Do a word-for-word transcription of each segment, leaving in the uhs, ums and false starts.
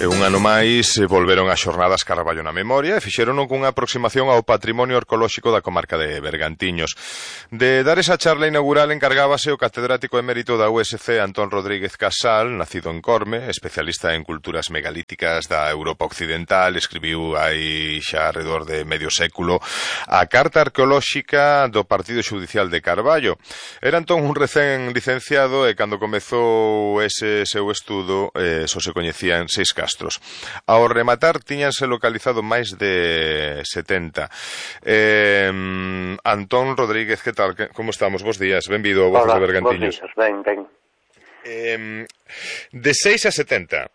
E un ano máis volveron as xornadas Carballo na memoria e fixerono cunha aproximación ao patrimonio arqueolóxico da comarca de Bergantiños. De dar esa charla inaugural encargábase o catedrático emérito da U S C Antón Rodríguez Casal, nacido en Corme, especialista en culturas megalíticas da Europa Occidental, escribiu hai xa alrededor de medio século a Carta Arqueolóxica do Partido Xudicial de Carballo. Era entón un recén licenciado e cando comezou ese seu estudo eh, só se coñecían seis castros. Ao rematar tiñanse localizado máis de setenta. Eh, Antón Rodríguez, que tal? Como estamos? Bos días, benvido ao Voces de Bergantiños. Bos días, ben, ben. Eh, de seis a setenta,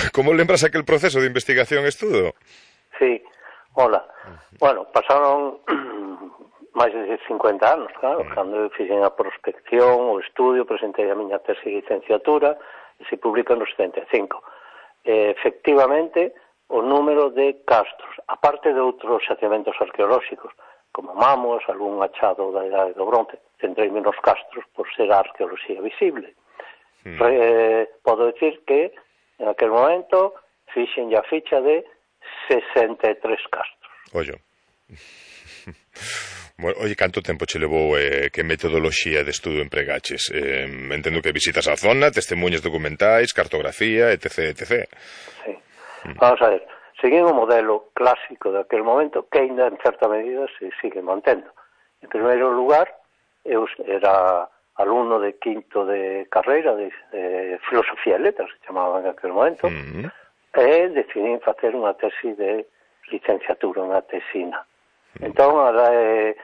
como lembras aquel proceso de investigación e estudo? Sí, hola. Bueno, pasaron máis de cincuenta anos, claro, cando eu fixen a prospección, o estudio, presentei a miña tese de licenciatura e se publica no setenta e cinco. Eh, efectivamente, o número de castros, aparte de outros xacementos arqueolóxicos, como Mamos, algún achado da Idade do Bronce, centrei menos castros por ser a arqueoloxía visible. Mm. Eh, podo dicir que, en aquel momento, fixen a ficha de sesenta e tres castros. Ollo. Bueno, oye, canto tempo che levou eh, que metodoloxía de estudo empregaches? Eh, entendo que visitas a zona, testemunhas documentais, cartografía, etc, etcétera. Sí. Mm. Vamos a ver, seguín o modelo clásico daquele momento que ainda en certa medida se sigue mantendo. En primeiro lugar, eu era alumno de quinto de carreira de, de filosofía e letras, se chamaba en aquel momento, mm. e decidín facer unha tesi de licenciatura, unha tesina. Mm. Entón, ahora eh,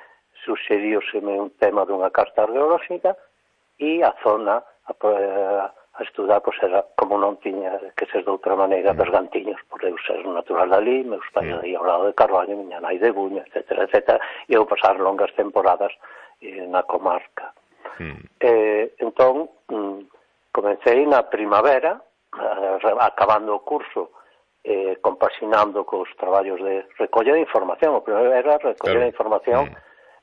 suxeriuseme un tema dunha carta arqueolóxica e a zona a, a estudar, pois era como non tiña que ser de outra maneira mm. Bergantiños, por eu ser natural dali, meus pais mm. aí ao lado de Carballo, miña nai de Buño, etcétera, etcétera, e eu pasar longas temporadas eh, na comarca. Mm. Eh, entón, mm, comecei na primavera, eh, acabando o curso, eh, compaxinando cos traballos de recolla de información. O primeiro era recoller claro. información mm.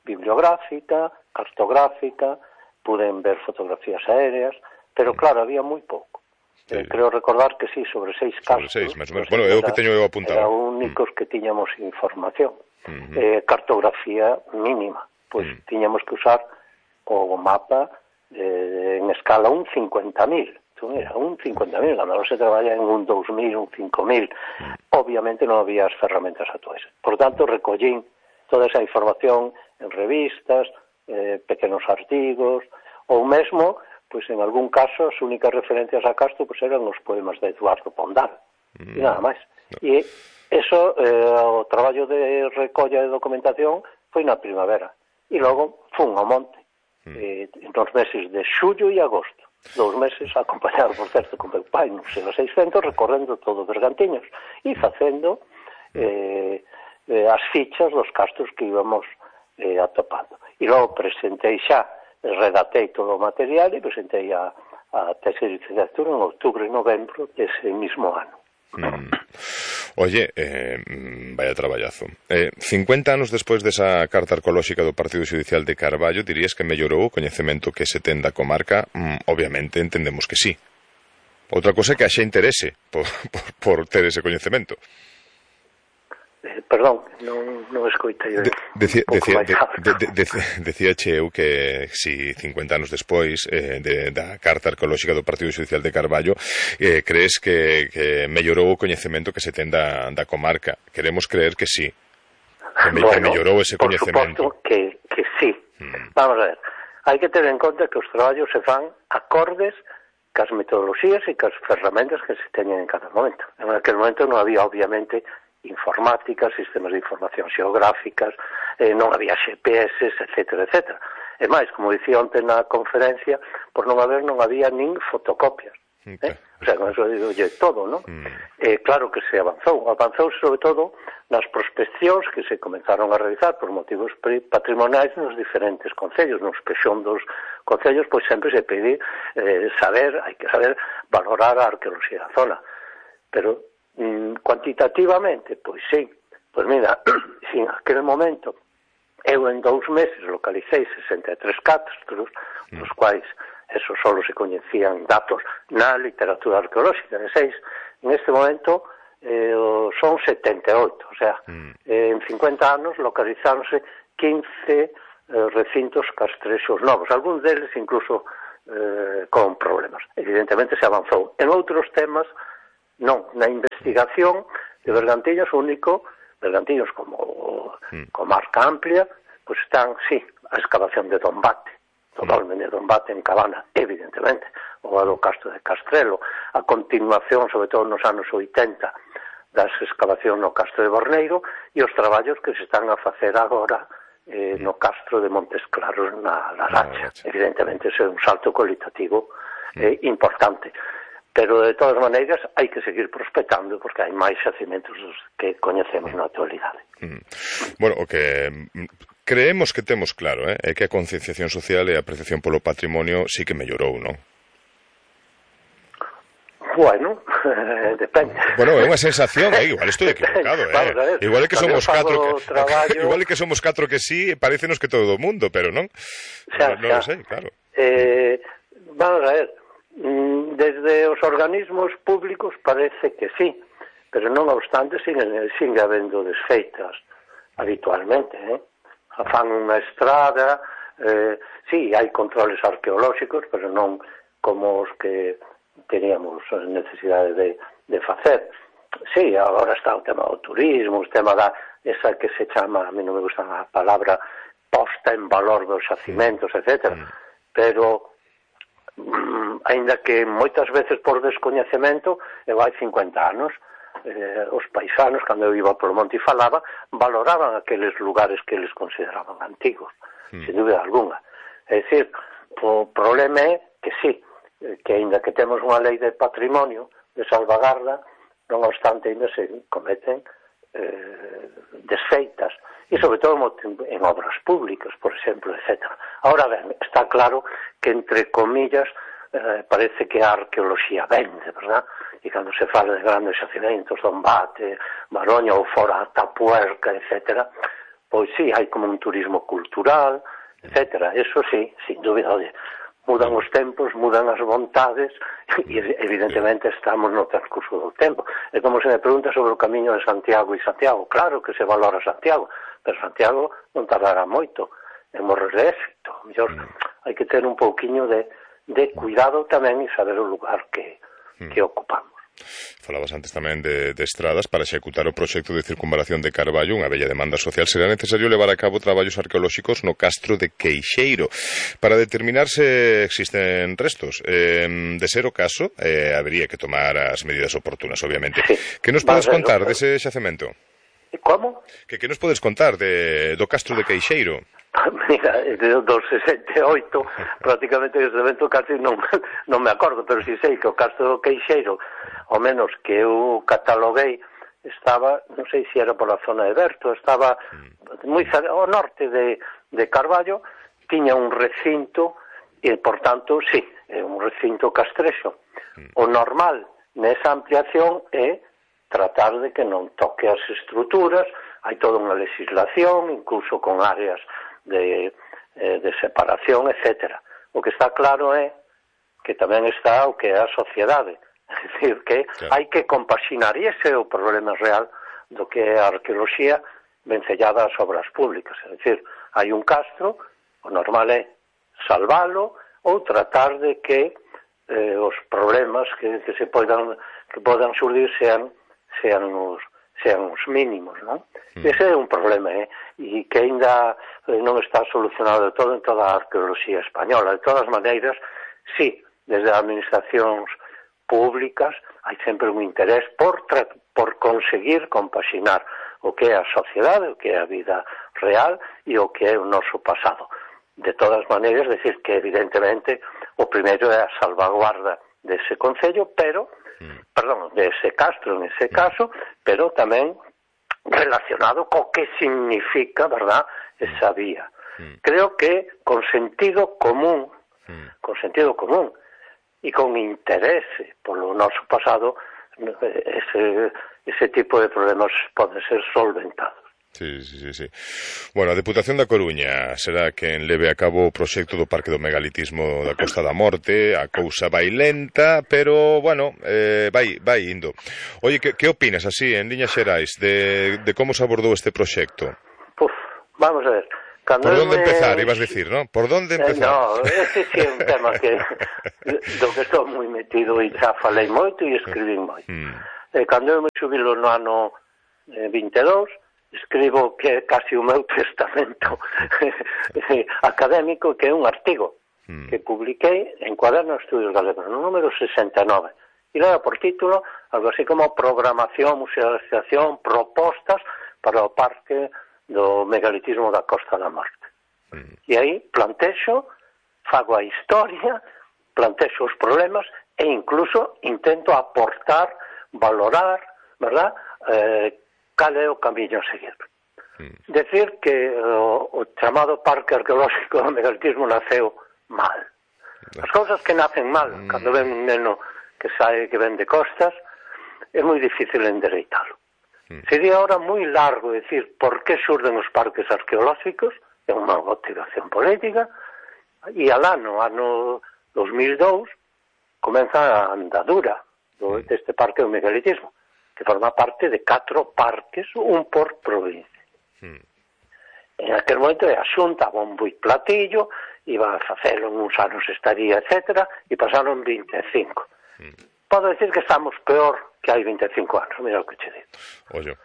bibliográfica, cartográfica, puden ver fotografías aéreas, pero claro, había moi pouco. Sí. Eh, creo recordar que sí, sobre seis casos. Sobre seis, máis ou menos. Bueno, é o que teño eu apuntado. Era únicos mm. que tiñamos información. Mm-hmm. Eh, cartografía mínima. Pois mm. tiñamos que usar o mapa eh, en escala un cincuenta mil. Entón, era un cincuenta mil, cando se traballa en un dous mil, un cinco mil. Mm. Obviamente non había as ferramentas actuais. Por tanto, recollín toda esa información en revistas, eh, pequenos artigos, ou mesmo, pois en algún caso, as únicas referencias a Castro pois eran os poemas de Eduardo Pondal, mm. e nada máis. No. E eso, eh, o traballo de recolla de documentación foi na primavera, e logo fun ao monte, mm. eh, nos meses de xullo e agosto, dous meses acompañado, por certo, con meu pai, non sei, seiscentos, recorrendo todo Bergantiños, e facendo eh, eh, as fichas dos castros que íbamos eh, atopando. E logo presentei xa, redactei todo o material e presentei a, a tese de licenciatura en outubro e novembro dese mismo ano. Mm. Oye, eh, vaya traballazo. Eh, cincuenta anos despois desa carta arqueolóxica do Partido Xudicial de Carballo, dirías que mellorou o coñecemento que se ten da comarca? Mm, obviamente entendemos que sí. Outra cosa é que haxa interese por, por, por ter ese coñecemento. Eh, perdón, non, non escoitei de, decía, decía, de, de, de, de, decía che eu que si cincuenta anos despois eh, de, da carta arqueolóxica do Partido Xudicial de Carballo eh, crees que, que mellorou o coñecemento que se ten da, da comarca. Queremos creer que sí, que, me, bueno, que mellorou ese coñecemento. Por suposto que, que sí. Hmm. Vamos a ver, hai que ter en conta que os traballos se fan acordes cas metodoloxías e cas ferramentas que se teñen en cada momento. En aquel momento non había, obviamente, informáticas, sistemas de información xeográficas, eh, non había G P S, etcétera, etcétera. E máis, como dicía onte na conferencia, por non haber, non había nin fotocopias. Eh? O sea, con eso digo todo, non? Mm. Eh, claro que se avanzou. Avanzou sobre todo nas prospeccións que se comenzaron a realizar por motivos patrimoniais nos diferentes concellos, nos pexón dos concellos, pois sempre se pide eh, saber, hai que saber valorar a arqueoloxía da zona. Pero cuantitativamente, pois sí, pois mira, si en aquel momento eu en dous meses localicei sesenta e tres castros, dos quais eso solo se coñecían datos na literatura arqueolóxica de seis, en este momento eh, son setenta e oito, o sea, mm. eh, en cincuenta anos localizáronse quince eh, recintos castrexos novos, algúns deles incluso eh, con problemas. Evidentemente se avanzou. En outros temas, non, na investigación de Bergantiños único, Bergantiños como mm. comarca amplia, pues están, sí, a excavación de Dombate, totalmente de Dombate en Cabana, evidentemente, o a do Castro de Castrelo, a continuación, sobre todo nos anos oitenta, das excavación no Castro de Borneiro e os traballos que se están a facer agora eh, no Castro de Montes Claros na Laracha. Evidentemente, ese é un salto cualitativo eh, importante. Pero, de todas maneiras, hai que seguir prospectando porque hai máis xacimentos que coñecemos na actualidade. Mm. Bueno, o que creemos que temos claro, eh, é que a concienciación social e a apreciación polo patrimonio sí que mellorou, non? Bueno, eh, depende. Bueno, é unha sensación, eh? Igual estou equivocado, eh? Vamos, igual é que somos catro que, traballo... igual é que somos catro que sí, parécenos que todo o mundo, pero non. Xa, non xa. Lo sei, claro. Eh, vamos a ver, desde os organismos públicos parece que sí, pero non obstante sigue, sigue habendo desfeitas habitualmente, eh? Fan unha estrada, eh, sí, hai controles arqueolóxicos, pero non como os que teníamos necesidade de, de facer. Sí, agora está o tema do turismo, o tema da, esa que se chama, a mí non me gusta a palabra, posta en valor dos xacimentos, etcétera. Mm. Pero, mm, ainda que moitas veces por descoñecemento, eu hai cincuenta anos, eh, os paisanos, cando eu iba polo monte e falaba, valoraban aqueles lugares que eles consideraban antigos, mm. sin dúbida alguna. É dicir, o problema é que sí, que aínda que temos unha lei de patrimonio de salvagarda, non obstante aínda se cometen eh, desfeitas, e sobre todo en obras públicas, por exemplo, etcétera. Ahora ben, está claro que entre comillas eh, parece que a arqueoloxía vende, verdad? E cando se fala de grandes xacimentos, Dombate, Maroña ou fora Tapuerca, etcétera, pois sí, hai como un turismo cultural, etcétera. Eso sí, sin dúbida, oye, mudan os tempos, mudan as vontades e evidentemente estamos no transcurso do tempo. É como se me pregunta sobre o camiño de Santiago e Santiago. Claro que se valora Santiago, pero Santiago non tardará moito en morrer de éxito. Mellor hai que ter un pouquiño de, de cuidado tamén e saber o lugar que, que ocupamos. Falabas antes tamén de, de estradas. Para executar o proxecto de circunvalación de Carballo, unha bella demanda social, será necesario levar a cabo traballos arqueolóxicos no Castro de Queixeiro para determinar se existen restos. Eh, de ser o caso, eh, habría que tomar as medidas oportunas, obviamente. Sí. Que nos podes vale, contar no, dese xacemento? Como? Que, que nos podes contar de, do Castro de Queixeiro? Mira, do sesenta e oito prácticamente ese evento casi non, non me acordo, pero si sei que o Castro do Queixeiro, ao menos que eu cataloguei, estaba, non sei se era pola zona de Berto, estaba moi ao norte de, de Carballo, tiña un recinto e, por tanto, sí, é un recinto castrexo. O normal nesa ampliación é tratar de que non toque as estruturas, hai toda unha legislación, incluso con áreas de, eh, de separación, etcétera. O que está claro é que tamén está o que é a sociedade. É dicir, que claro, hai que compaxinar, e ese é o problema real do que é a arqueoloxía vencellada ás obras públicas. É dicir, hai un castro, o normal é salvalo ou tratar de que eh, os problemas que, que se podan, que podan surdir sean, sean os sean os mínimos, non? Mm. Ese é un problema, eh? E que ainda non está solucionado de todo en toda a arqueoloxía española. De todas maneiras, sí, desde as administracións públicas hai sempre un interés por, por conseguir compaxinar o que é a sociedade, o que é a vida real e o que é o noso pasado. De todas maneiras, decir que evidentemente o primeiro é a salvaguarda dese concello, pero perdón, de ese castro en ese caso, pero tamén relacionado co que significa, verdad, esa vía. Creo que con sentido común, con sentido común e con interese polo noso pasado, ese, ese tipo de problemas poden ser solventados. Sí, sí, sí, sí. Bueno, a Deputación da Coruña será quen leve a cabo o proxecto do Parque do Megalitismo da Costa da Morte. A cousa vai lenta, pero, bueno, eh, vai, vai indo. Oye, que, que opinas, así, en liñas xerais, de, de como se abordou este proxecto? Puf, vamos a ver. Cando Por onde me... empezar, ibas dicir, non? Por onde empezar? Eh, no, ese sí é un tema que do que estou moi metido e xa falei moito e escribí moito. Mm. Eh, cando eu me xubilo no ano eh, vinte e dous, escribo que é casi o meu testamento académico, que é un artigo mm. que publiquei en Cuaderno de Estudios Galegos, no número sesenta e nove. E leva por título algo así como Programación, Musealización, Propostas para o Parque do Megalitismo da Costa da Morte. Mm. E aí plantexo, fago a historia, plantexo os problemas e incluso intento aportar, valorar, verdad, eh, cal é o camiño a seguir. Mm. Decir que o, o chamado Parque Arqueolóxico do Megalitismo naceu mal. As cousas que nacen mal, mm. cando ven un neno que sae que ven de costas, é moi difícil endereitalo. Mm. Sería ahora moi largo decir por que surden os parques arqueolóxicos, é unha motivación política, e al ano, ano dos mil dous, comeza a andadura do, deste Parque do Megalitismo, que forma parte de catro parques, un por provincia. Mm. En aquel momento a Xunta, bombo e platillo, iba a facelo en uns anos estaría, etcétera, e pasaron vinte e cinco. Mm. Podo decir que estamos peor que hai vinte e cinco anos, mira o que che digo. Ollo.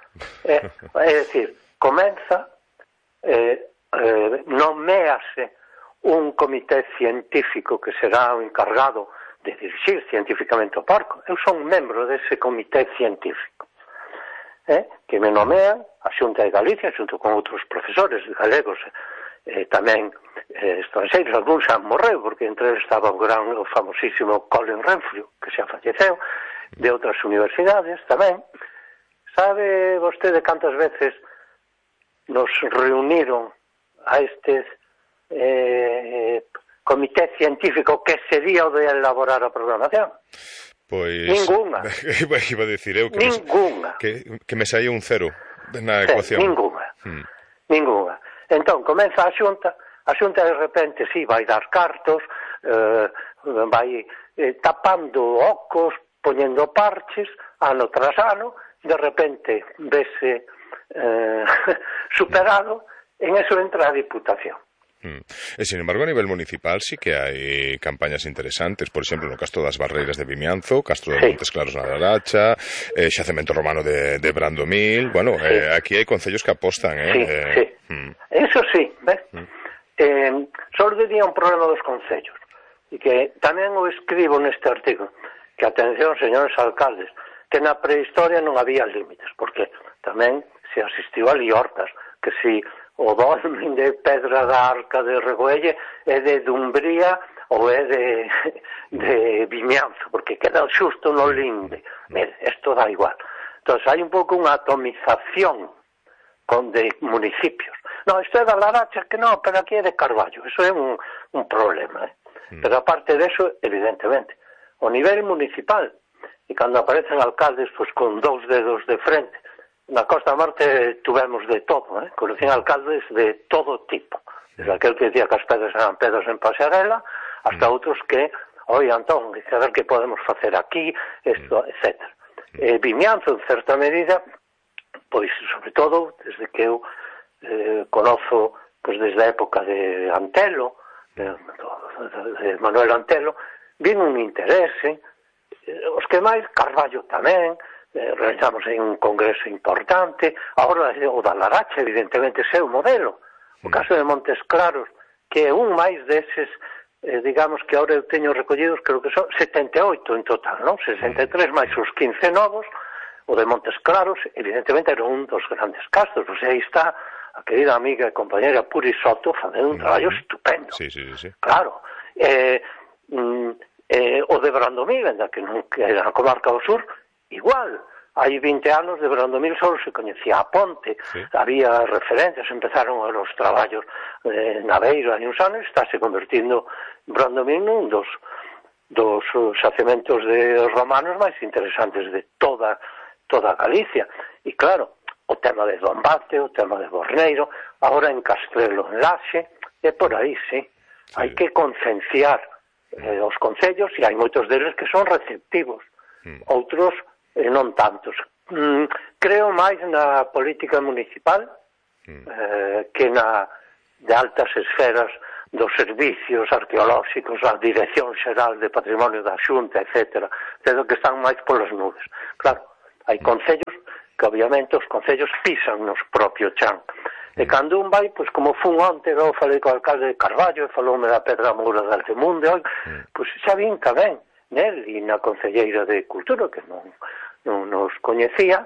É, é dicir, comeza, eh, eh, nomease un comité científico que será o encargado de dirixir científicamente o parque. Eu son membro dese comité científico, eh, que me nomean a Xunta de Galicia, xunto con outros profesores galegos, eh, tamén eh, estrangeiros, algúns xa morreu, porque entre eles estaba o gran, o famosísimo Colin Renfrew, que xa falleceu, de outras universidades tamén. Sabe vostede cantas veces nos reuniron a estes eh, comité científico que sería o de elaborar a programación? Pois... Ninguna. Iba a decir eu que Ninguna. Me, que, que me saía un cero na sí, ecuación. Ninguna. Hmm. Ninguna. Entón, comeza a Xunta, a Xunta de repente, sí, vai dar cartos, eh, vai eh, tapando ocos, poñendo parches, ano tras ano, de repente vese eh, superado, en eso entra a Diputación. Mm. E, sin embargo, a nivel municipal sí que hai campañas interesantes, por exemplo, no Castro das Barreiras de Vimianzo, Castro de sí. Montes Claros na Laracha, eh, Xacemento Romano de, de Brandomil, bueno, sí. eh, aquí hai concellos que apostan, eh? Sí, eh, sí. Mm. Eso sí, ¿ves? Mm. Eh, só diría un problema dos concellos, e que tamén o escribo neste artigo, que atención, señores alcaldes, que na prehistoria non había límites, porque tamén se asistiu a liortas, que si o dolmen de Pedra da Arca de Regoelle é de Dumbría ou é de, de Vimianzo, porque queda xusto no linde. Mire, isto dá igual. Entón, hai un pouco unha atomización con de municipios. No, isto é da Laracha, que non, pero aquí é de Carballo. Eso é un, un problema. Eh? Mm. Pero aparte de eso, evidentemente, o nivel municipal, e cando aparecen alcaldes pues, con dous dedos de frente, na Costa da Morte tuvemos de todo, eh? Conocían alcaldes de todo tipo, desde aquel que decía que as pedras eran pedras en pasarela, hasta mm. outros que, oi, Antón, a ver que podemos facer aquí, esto, mm. etcétera. Eh, Vimianzo, en certa medida, pois, sobre todo, desde que eu eh, conozo, pois, desde a época de Antelo, de, de Manuel Antelo, vino un interese, eh, os que máis, Carballo tamén, Eh, realizamos aí un congreso importante, agora o da Laracha, evidentemente, é o modelo. O caso de Montes Claros, que é un máis deses, eh, digamos que agora eu teño recollidos, creo que son setenta e oito en total, non? sesenta e tres máis os quince novos, o de Montes Claros, evidentemente, era un dos grandes castros, pois aí está a querida amiga e compañera Puri Soto facendo un traballo estupendo. Sí, sí, sí. Claro. Eh, mm, eh, o de Brandomil, que non que era a comarca do sur, igual, hai vinte anos de Brandomil só se coñecía a ponte, sí. Había referencias, empezaron os traballos eh, na Beira hai uns anos, estáse convertindo Brandomil nun dos, dos xacementos de romanos máis interesantes de toda, toda Galicia. E claro, o tema de Dombate, o tema de Borneiro, agora en Castrelo, en Laxe, e por aí, sí. sí. Hai que concienciar eh, os concellos, e hai moitos deles que son receptivos, mm. outros eh, non tantos. Mm, creo máis na política municipal mm. eh, que na de altas esferas dos servicios arqueolóxicos, a Dirección Xeral de Patrimonio da Xunta, etcétera, pero que están máis polas nubes. Claro, hai concellos que obviamente os concellos pisan nos propio chan. E cando un vai, pois como fun onte, eu falei co alcalde de Carballo, e faloume da Pedra Moura de Altemunde, pois xa vin tamén, nel e na Concelleira de Cultura, que non, non nos coñecía,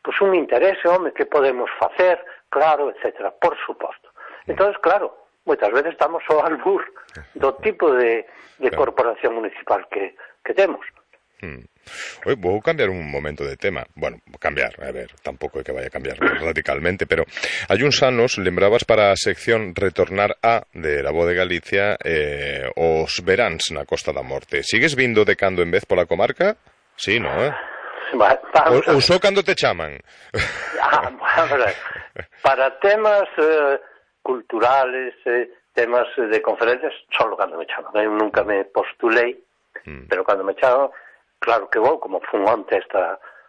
pois un interese, home, que podemos facer, claro, etcétera, por suposto. Entón, claro, moitas veces estamos ao albur do tipo de, de corporación municipal que, que temos. Hmm. Oi, vou cambiar un momento de tema. Bueno, cambiar, a ver, tampouco é que vaya a cambiar radicalmente, pero hai uns anos lembrabas para a sección Retornar a de La Voz de Galicia eh, os veráns na Costa da Morte. Sigues vindo de cando en vez pola comarca? Sí, non, eh? Va, ou, ou só cando te chaman? Ah, bueno, para temas eh, culturales, eh, temas de conferencias, solo cando me chaman. Eu nunca me postulei, mm. pero cando me chaman, claro que vou, como fun onte a esta,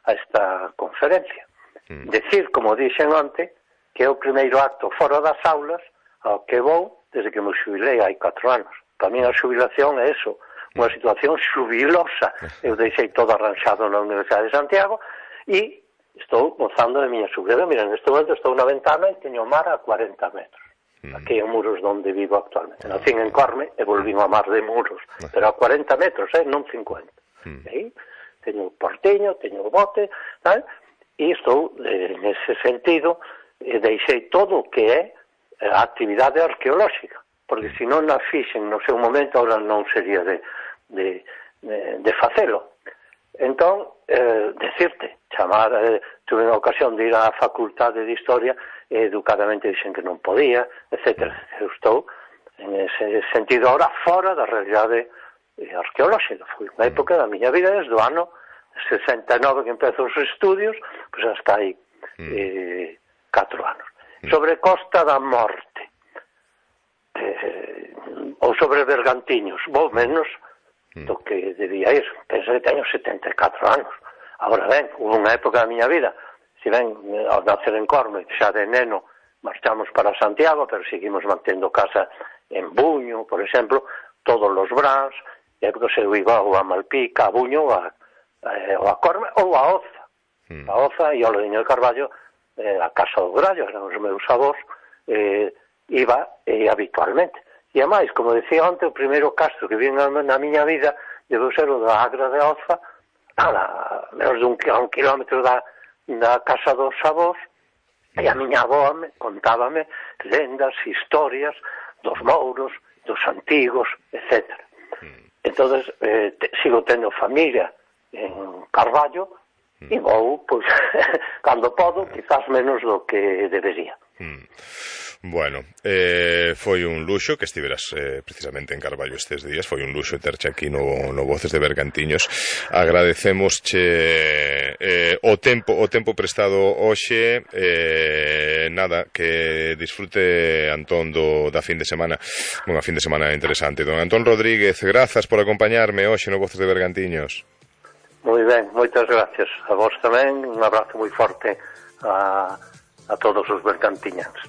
a esta conferencia. Mm. Decir, como dixen onte, que é o primeiro acto fora das aulas ao que vou desde que me xubilei hai catro anos. Para mí a xubilación é eso, unha situación xubilosa. Eu deixei todo arranxado na Universidade de Santiago e estou gozando de miña xubilación. Mira, neste momento estou na ventana e teño mar a cuarenta metros. Aquí en Muros donde vivo actualmente. Nacín en Corme e volvín a mar de Muros, pero a cuarenta metros, eh, non cincuenta. Mm. Aí, teño o porteño, teño o bote, tal, e estou, eh, nese sentido, eh, deixei todo o que é a actividade arqueolóxica, porque se non a fixen no seu momento, ahora non sería de, de, de, de facelo. Entón, eh, decirte, chamar, eh, tuve a ocasión de ir á Facultade de Historia, e educadamente dixen que non podía, etcétera. Eu estou, en ese sentido, ahora fora da realidade arqueolóxica. Foi unha época da miña vida desde o ano sesenta e nove que empezo os estudios, pois hasta aí eh, catro anos. Sobre Costa da Morte eh, ou sobre Bergantiños, vou menos do que debía ir. Penso que teño setenta e catro anos. Agora ben, hubo unha época da miña vida, se ben, ao nacer en Corme, xa de neno marchamos para Santiago, pero seguimos mantendo casa en Buño, por exemplo, todos os brans, e que se iba ou a Malpica, a Buño, ou a, eh, ou a Corme, ou a Oza. Mm. A Oza e o Lodiño de Carballo, eh, a Casa do Grallo, eran os meus avós, eh, iba eh, habitualmente. E ademais, como decía antes, o primeiro castro que vi na, na miña vida debeu ser o da Agra de Oza, a menos de un, a un kilómetro da, da Casa dos avós, e a miña avó me, contábame lendas, historias dos mouros, dos antigos, etcétera. Entonces, eh, te, sigo tendo familia en Carballo e vou, pois, cando podo, quizás menos do que debería. Mm. Bueno, eh, foi un luxo que estiveras eh, precisamente en Carballo estes días, foi un luxo terche aquí no, no Voces de Bergantiños. Agradecemosche eh, o tempo o tempo prestado hoxe, eh, nada, que disfrute Antón do, da fin de semana, unha fin de semana interesante. Don Antón Rodríguez, grazas por acompañarme hoxe no Voces de Bergantiños. Moi ben, moitas gracias a vos tamén, un abrazo moi forte a, a todos os bergantiñanos.